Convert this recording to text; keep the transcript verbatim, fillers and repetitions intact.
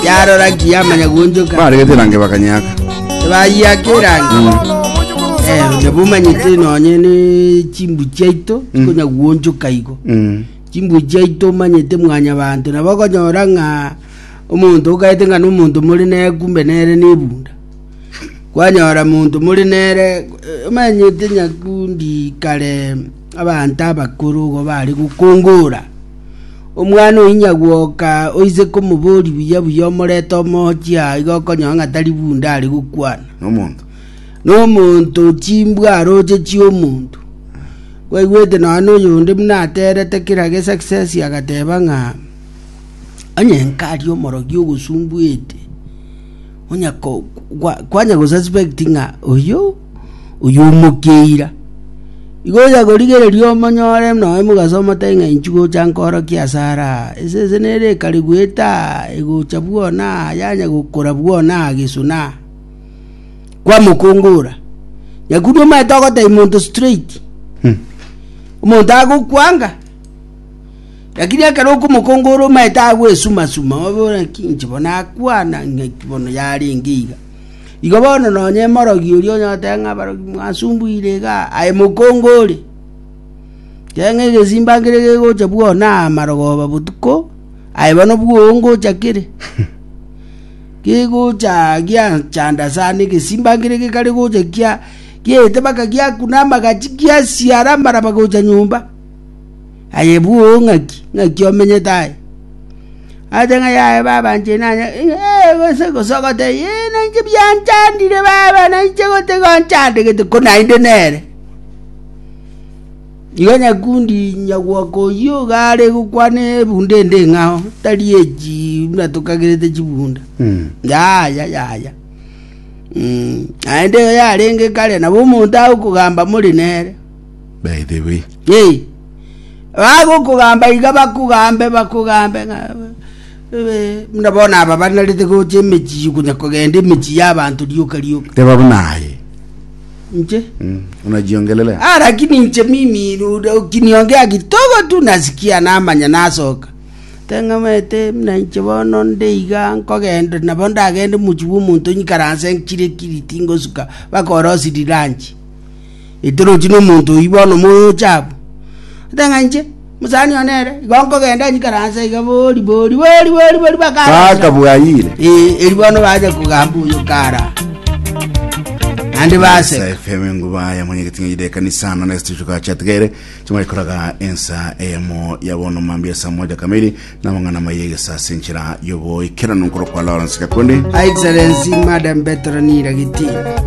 Yarora ki yamanya guonchoka. Baregete range bakanyaka. Bayiaka erangi. Eh, nabo omanyete nonye ne chimbu chiaito chikonya guonchoka igo. Mm. Chimbu chiaito omanyete mwanyabanto nabo okonyora ng'a omonto okaete ng'a na omonto more nere kumbe nere na ebunda. Kwanyora monto more nere eh, omanyete nyakundi kare abanto abakoro igo bare gokongora. Omwana oyio nyagwoka oise komobori buya buya omorete omochia igo okonyora ng'a tari bunda are gokwana. Nomonto. Nomonto chimbwa aroche chia omonto. Kwaigwete nonya na oyonde buna aterete kera ge success agateba ng'a onye nkari omorogi ogosumbuete onya ko kwa- kwanya gosuspect ng'a oyo oyo omokeira. Igo onya korigereria omonyore nonya mogaso omotebi ng'a inchu gocha nkorokia ase ara esese nere ekare goeta egocha bwona yanya gokora bwona gesona kwamokongora. Nyakundi omanyete ogotebia monto straight. Hmm. Omonto agokwanga lakini ekero okomokongora omanyete agwesumasuma obore naki inche bono akwana ng'aki bono yarenge iga. Igo bono nonye morogi oria onye goteba ng'a abarogi mwasumbuire igaa aye mokongore. Teba ng'a egesimba nkere gegocha bwona amarogoba botuko aye bono bwogo ngocha kere. Gegocha giachanda sana egesimba nkere gekare gocha kia giaete mpaka giakuna amagachi giasiara amaraba gocha nyomba. Aye bwogo ng'aki ng'aki omenyete aye. Ate ng'a yaye baba inche nanya eh gose gose ogotebia eh nainche bianchandire baba nainche gote gonchandegete ko naende nere. Igo nyakundi nyagwoka oyio iga are gokwana ebunda ende eng'ao tari echi buna tokagerete chibunda. Mm. Yaya yaya. Mm, naende eyo yarenge kare nabo omonto agokogamba more nere. By the way. Ee, bagokogamba iga bakogambe bakogambe ng'a eh, buna bono aba banarete gocha emechie konya kogenda emechie ya abanto rioka rioka. Teba buna aye. Inche Mm. Unajiongelelea. Ah, lakini inche mimi ukiniongea kidogo tu nasikia namanya nasoka teng'amete buna inche bono nde iga nkogenda nabo ndagende mochie bwa omonto nyikaranse nkire kiri tingosuka mpaka orosiri lunch etorochi na omonto oyio bono moyocha abwo oteba ng'a inche mosani one ere igo nkogenda nyikaranse iga bori bori bori bori bori mpaka Paka bwayire. Eh, eri bono bacha kogamba oyo kara naende baseka F M nguba ya mwenyekiti ng'ide kanisa na next tuka chatgere chimwe ensa eyemo ya bono mambia saa moja kamili na mang'ana mayege saa senchera yobo ikerano nkoro kwa Lawrence Gakundi. Excellency Madam Petronila Gitina.